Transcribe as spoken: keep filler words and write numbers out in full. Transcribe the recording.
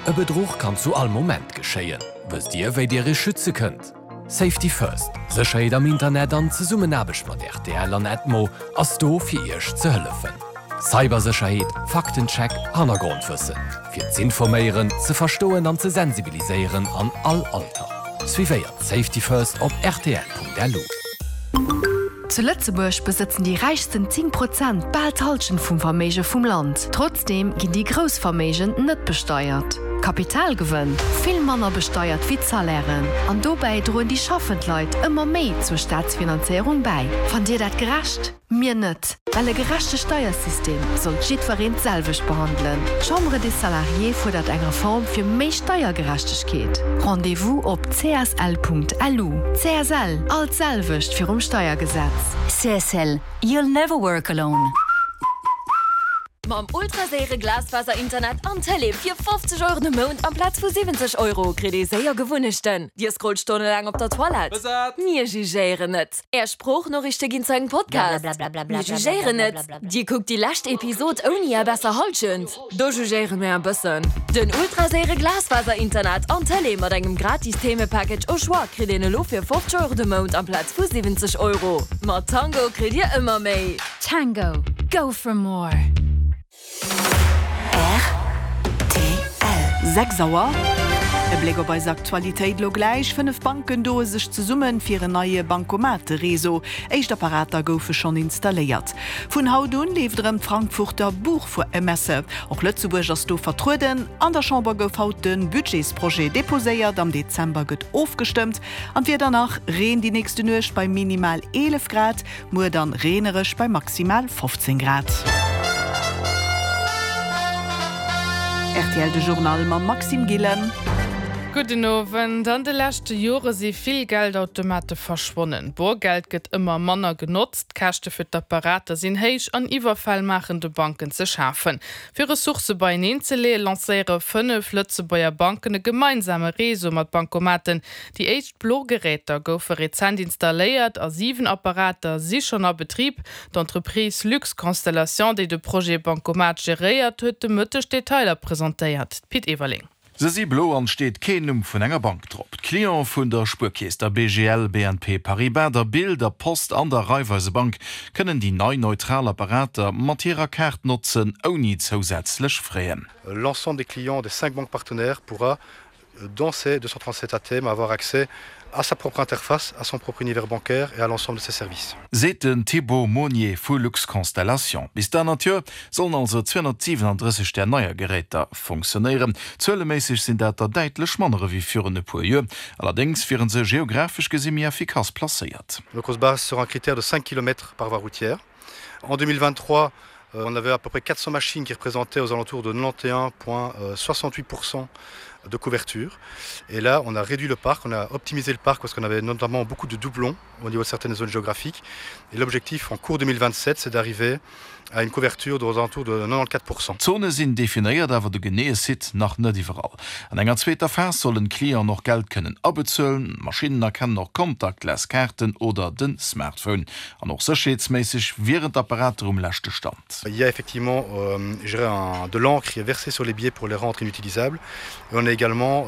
E Bedruch kann zu all Moment geschéien. Wësst Dir, wéi Dir Iech schütze kënnt? Safety First, Sécherheet am Internet an Zesummenaarbecht mat R T L an Edmo ass do fir Iech ze hëllefen. Cybersécherheet, Faktencheck, Hannergrondwëssen. Fir ze informéieren, ze verstoen an ze sensibiliséieren an all Alter. Suivéiert Safety First op R T L Punkt L U. Zu Lëtzebuerg besëtzen déi räichsten zéng Prozent bal d'Hallschent vum Verméige vum Land. Trotzdeem ginn déi grouss Verméigen net besteiert. Kapitalgewënn vill manner besteiert wéi d'Salairen. An dobäi droen déi schaffend Leit ëmmer méi zur Staatsfinanzéierung bäi. Fannt Dir dat gerecht? Mir net. Well e gerechte Steiersystem sollt jiddwereen d'selwecht behandelen. D'Chambre des Salariés fuerdert eng Reform fir méi Steiergerechtegkeet. Rendez-vous op C S L Punkt L U. C S L, all d'selwecht virum Steiergesetz. C S L, you'll never work alone. Mam ultraséiere Glasfaser-Internet an Tëlee fir fofzeg Euro de Mount amplaz vu siwwenzeg Euro kritt Dir séier Gewunnechten. Dir scrollt stonnelaang op der Toilette. Mir jugéieren net. Är Sproochnoriichte ginn zu engem Podcast. Mir jugéieren net. Dir kuckt déi lescht Episod ouni är besser Hallschent. Do jugéiere mir e bëssen. Den ultraséiere Glasfaser-Internet an Tëlee mat engem gratis Themepackage au choix kritt Dir elo fir fofzeg Euro de Mount amplaz vu siwwenzeg Euro. Mat Tango kritt Dir ëmmer méi. Tango, go for more. R T L. sechs Auer. E Bléck op eis Aktualitéit lo gläich. Fënnef Banken doe sech zesummen fir en neie Bankomatereseau. Éischt Apparater goufe schonn installéiert. Vun haut un leeft erëm d'Frankfurter Buchmesse. Och Lëtzebuerg ass do vertrueden. An der Chamber gouf haut de Budgetsprojet deposéiert. Am Dezember gëtt ofgestëmmt. An Wieder nach: Reen déi nächst Nuecht bei minimal eelef Grad, muer dann reenereg bei maximal fofzéng Grad. R T L de Journal mam Maxime Gillen. Gudden Owend. An de leschte Jore si vill Geldautomate verschwonnen. Borgeld gëtt ëmmer manner genotzt, Käschte fir d'Apparater sinn héich an Iwwerfäll maachen de Banken ze schafen. Fir Ressourcë beieneen ze leeën, lancéiere fënnef Lëtzebuerger Banken e gemeinsame Réseau mat Bankomaten. Déi éischt blo Geräter goufe rezent installéiert a siwen Apparater si schonn a Betrib. D'Entreprise Lux Constellation, déi de Projet Bankomat geréiert huet, de Mëtteg Detailer presentéiert. Pit Everling. Se si blo an et steet keen Numm vun enger Bank drop. D'Clientë vun der Spuerkeess, der B G L, B N P Paribas, der B I L, der Post an der Raiffeisebank kënnen déi nei neutral Apparater mat hirer Kaart notzen, ouni zousätzlech Frais. L'ensemble des clients des cinq banques partenaires pourra dans ces deux cent trente-sept A T M avoir accès à sa propre interface, à son propre univers bancaire et à l'ensemble de ses services. Seet den Thibaut Monnier vu Lux Constellation. Bis dann natierlech sollen also zweehonnertsiwenendrësseg där neier Geräter funktionéieren. Zueleméisseg sinn dat der däitlech manner wéi virun e puer Joer. Allerdéngs wiere se geografesch gesi méi effikass placéiert. Donc on se base sur un critère de cinq kilomètres par voie routière. En deux mille vingt-trois, on avait à peu près quatre cents machines qui représentaient aux alentours de quatre-vingt-onze virgule soixante-huit pour cent de couverture. Et là, on a réduit le parc, on a optimisé le parc parce qu'on avait notamment beaucoup de doublons au niveau de certaines zones géographiques. Et l'objectif en cours deux mille vingt-sept, c'est d'arriver à une couverture aux alentours de quatre-vingt-quatorze pour cent. D'Zone sinn definéiert, awer de geneeë Site nach net iwwerall. An enger zweeter Phas sollen d'Clienten och Geld kënnen abezuelen, d'Maschinnen erkennen och contactless Kaarten oder den Smartphone. An och sécherheetsméisseg wieren d'Apparater um leschte Stand. Il y a effectivement euh, je dirais un, de l'encre qui est versée sur les billets pour les rendre inutilisables. Et on a également